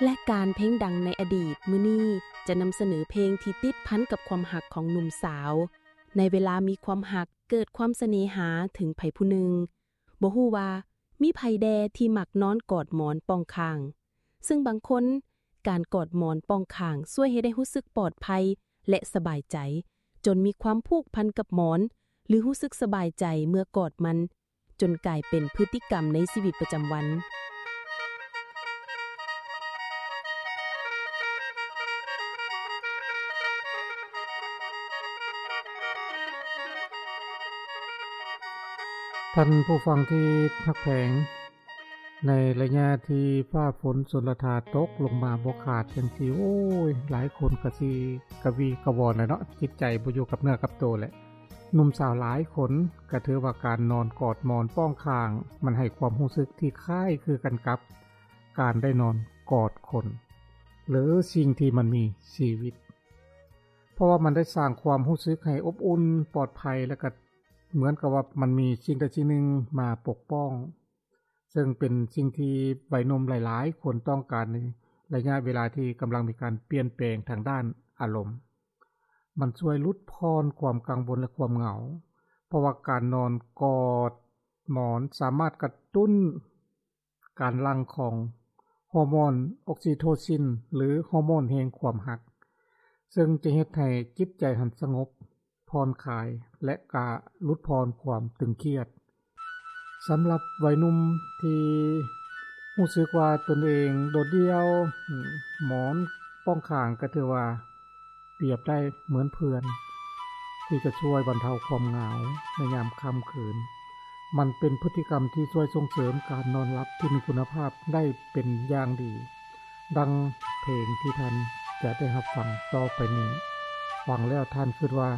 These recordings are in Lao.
ລາຍການເພງດັງໃນອະດີດ ມື້ນີ້ຈະນຳສະເໜີເພງທີ່ຕິດພັນກັບຄວາມຮັກຂອງໜຸ່ມສາວ. ໃນເວລາມີຄວາມຮັກ ເກີດຄວາມສະເໜຫາເຖິງໃຜຜູ້ໜຶ່ງ, ບໍ່ຮູ້ວ່າມີໃຜແດ່ທີ່ມັກນອນກອດໝອນປ່ອງຂ້າງ. ເຊິ່ງບາງຄົນ, ການກອດໝອນປ່ອງຂ້າງຊ່ວຍໃຫ້ໄດ້ຮູ້ສຶກປອດໄພ ແລະ ສະບາຍໃຈ, ຈົນມີຄວາມຜູກພັນກັບໝອນ ຫຼື ຮູ້ສຶກສະບາຍໃຈເມື່ອກອດມັນ, ຈົນກາຍເປັນພຶດຕິກຳໃນຊີວິດປະຈຳວັນ. ທ່ານຜູ້ຟັງທີ່ຮັກແພງ, ໃນໄລຍະທີ່ຟ້າຝົນຊົນລະທາຕົກລົງມາບໍ່ຂາດຈັ່ງຊີ້, ໂອ້ຍ, ຫຼາຍຄົນກະຊິກະວີກະວອນແຫຼະເນາະ, ຈິດໃຈບໍ່ຢູ່ກັບເນື້ອກັບໂຕແຫຼະ. ໜຸ່ມສາວຫຼາຍຄົນກະຖືວ່າການນອນກອດໝອນປ້ອງຂ້າງ ມັນໃຫ້ຄວາມຮູ້ສຶກທີ່ຄ້າຍຄືກັນກັບການໄດ້ນອນກອດຄົນ ຫຼື ສິ່ງທີ່ມັນມີຊີວິດ, ເພາະວ່າມັນໄດ້ສ້າງຄວາມຮູ້ສຶກໃຫ້ອົບອຸ່ນ, ປອດໄພ ແລະ ກະເໝືອນກັບວ່າມັນມີສິ່ງໃດສິ່ງໜຶ່ງມາປົກປ້ອງ. ເຊິ່ງເປັນສິ່ງທີ່ໄວໜຸ່ມຫຼາຍໆຄົນຕ້ອງການໃນໄລຍະເວລາທີ່ກຳລັງມີການປ່ຽນແປງທາງດ້ານອາລົມ. ມັນຊ່ວຍຫຼຸດຜ່ອນຄວາມກັງວົນ ແລະ ຄວາມເຫງົາ, ເພາະວ່າການນອນກອດໝອນສາມາດກະຕຸ້ນການຫຼັ່ງຂອງຮໍໂມນອອກຊີໂທຊິນ ຫຼື ຮໍໂມນແຫ່ງຄວາມຮັກ, ເຊິ່ງຈະເຮັດໃຫ້ຈິດໃຈຫັ້ນສະຫງົບ ຜ່ອນຄາຍ ແລະ ກະຫຼຸດຜ່ອນຄວາມຕຶງຄຽດ. ສຳລັບໄວໜຸ່ມທີ່ຮູ້ສຶກວ່າຕົນເອງໂດດດ່ຽວ, ໝອນປ້ອງຂ້າງກະຖືວ່າປຽບໄດ້ເໝືອນເພື່ອນ ທີ່ຈະຊ່ວຍບັນເທົາຄວາມເຫງົາໃນຍາມຄ່ຳຄືນ. ມັນເປັນພຶດຕິກຳທີ່ຊ່ວຍສົ່ງເສີມການນອນຫຼັບທີ່ມີຄຸນນະພາບໄດ້ເປັນຢ່າງດີ. ດັ່ງເພງທີ່ທ່ານຈະໄດ້ຮັບຟັງຕໍ່ໄປນີ້, ຟັງແລ້ວທ່ານຄິດວ່າ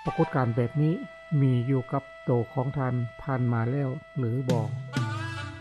ປາກົດການແບບນີ້ມີຢູ່ກັບໂຕຂອງທ່ານຜ່ານມາແລ້ວຫຼືບໍ່?